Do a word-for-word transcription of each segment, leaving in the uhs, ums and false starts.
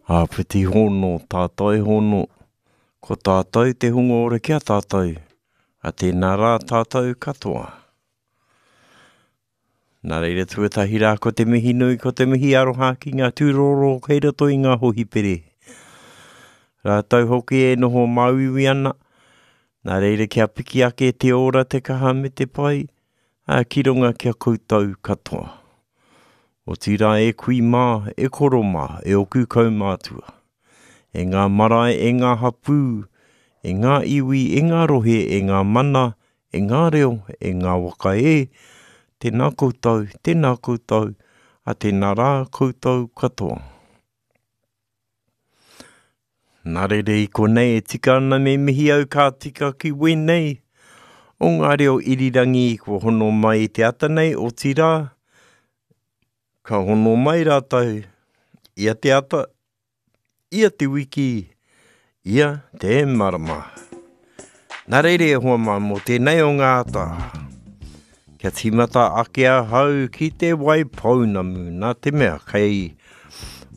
Āpiti hono, tātai hono, ko tātou te hunga ora ki a tātou, a tēnā rā tātou katoa. Nā reira tuatahi rā ko te mihi nui, ko te mihi aroha ki ngā tūroro kei roto i ngā hohipere. Rātou hoki e noho māuiui ana, nā reira kia piki ake te ora, te kaha me te pai, a ki runga kia koutou katoa. Otirā e kui mā, e koro mā, e oku kaumātua. E ngā marae, e ngā hapū, e ngā iwi, e ngā rohe, e ngā mana, e ngā reo, e ngā waka e, tēnā koutou, tēnā koutou, a tēnā rā koutou katoa. Nā reira i konei e tika ana me mihi au ka tika ki wēnei o ngā reo irirangi kua hono mai i te ata nei, otirā, ka hono mai rātou ia te ata, ia te wiki, ia te marama. Nā reira e hoa mā mō tēnei o ngā ata. Kia tīmata ake ahau ki te Waipounamu, nā te mea kei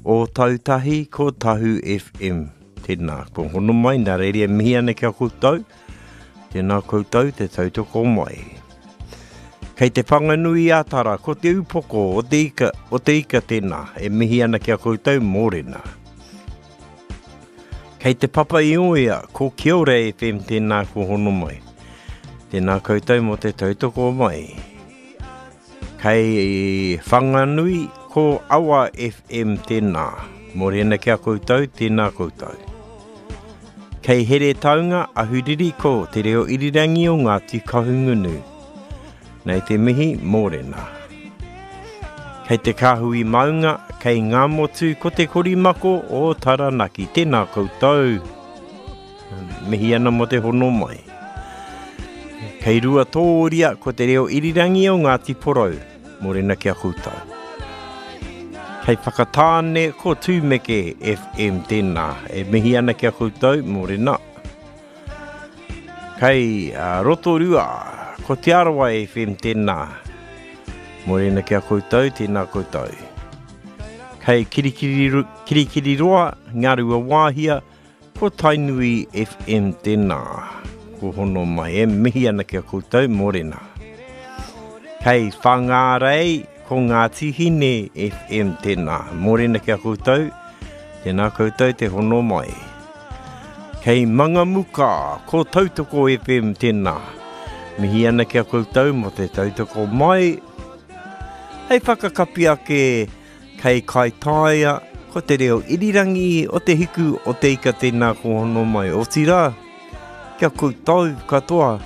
Ōtautahi ko Tahu F M. Tēnā, ko hono mai, nā reira e mihi ana ki a koutou. Tēnā koutou te tautoko mai. Kei te Whanganui ā Tara, ko te upoko o te ika, o te ika tēnā, e mihi ana ki a koutou mōrena. Kei te Papa i Oea, ko Kia Ora F M tēnā ko hono mai. Tēnā koutou mō te tautoko mai. Kei Whanganui, ko Awa F M tēnā. Mōrena ki a koutou, tēnā koutou. Kei Heretaunga, Ahuriri ko te reo irirangi o Ngāti Kahungunu. Nei te mihi, mōrena. Kei te kāhui maunga, kei ngā motu, ko te korimako o Taranaki. Tēnā koutou. Mihi ana mō te hono mai. Kei Ruatōria, ko te reo irirangi o Ngāti Porou. Mōrena ki a koutou. Kei Whakatāne, ko Tūmeke F M tēnā. E mihi ana ki a koutou, mōrena. Kei, uh, Rotorua, ko Te Arawa F M tēnā. Mōrena ki a koutou, tēnā koutou. Kei Kirikiri, Kirikiriroa, Ngārua Wāhia, ko Tainui F M tēnā. Ko hono mai, e mihi ana ki a koutou, mōrena. Kei Whangārei, ko Ngāti Hine F M tēnā. Mōrena ki a koutou, tēnā koutou te hono mai. Kei Mangamuka, ko Tautoko F M tēnā. Mihi ana ki a koutou mō te tautoko mai. Hei whakakapi ake, kei Kaitaia, ko te reo irirangi o te hiku o te ika tēnā ko hono mai. Otirā, kia koutou katoa,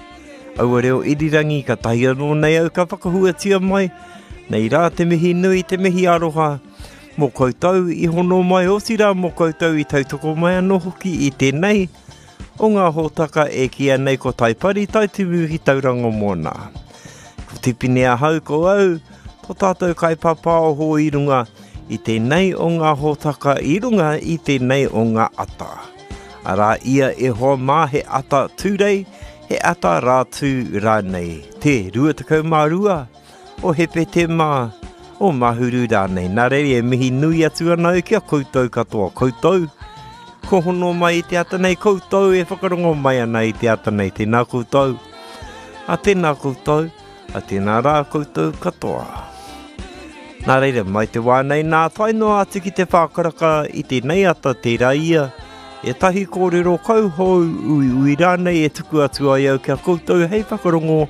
aua reo irirangi ka tahi anō nei au ka whakahuatia mai. Nei rā te mihi nui, te mihi aroha, mō koutou i hono mai, otirā mō koutou i tautoko mai anō hoki i tēnei o ngā hōtaka e kīia nei ko Taipari Taitimu ki Tauranga Moana. Ko Tipene ahau ko au, tō tātou kaipāpāoho i runga i tēnei o ngā hōtaka i runga i tēnei o ngā ata. Arā ia e hoa mā he ata tūrei, he ata rātū rānei. Te rua tekau mā rua o Hepetema o Mahuru rānei. Nā reira e mihi nui atu ana au ki a koutou katoa. Koutou, ko hono mai i te ata nei, koutou e whakarongo mai ana i te ata nei. Tēnā koutou, a tēnā koutou, a tēnā rā koutou katoa. Nā reira, mai te wā nei nā tae noa atu ki te whākaraka i tēnei ata tērā ia, e tahi kōrero kauhou ui ui rānei e tuku atu ai au kia koutou hei whakarongo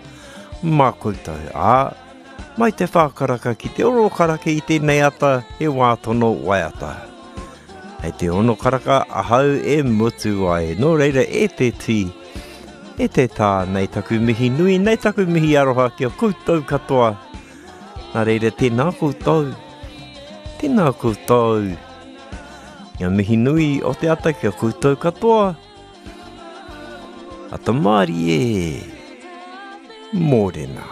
mā koutou. Ā, mai te whākaraka ki te oro karaka i tēnei ata he wā tono waiata. Hei te ono karaka ahau e mutu ai. Nō reira e te tī, e te tā, nei taku mihi nui, nei taku mihi aroha ki a koutou katoa. Nā reira tēnā koutou, tēnā koutou. Ngā mihi nui o te ata ki a koutou katoa. Ata mārie, mōrena.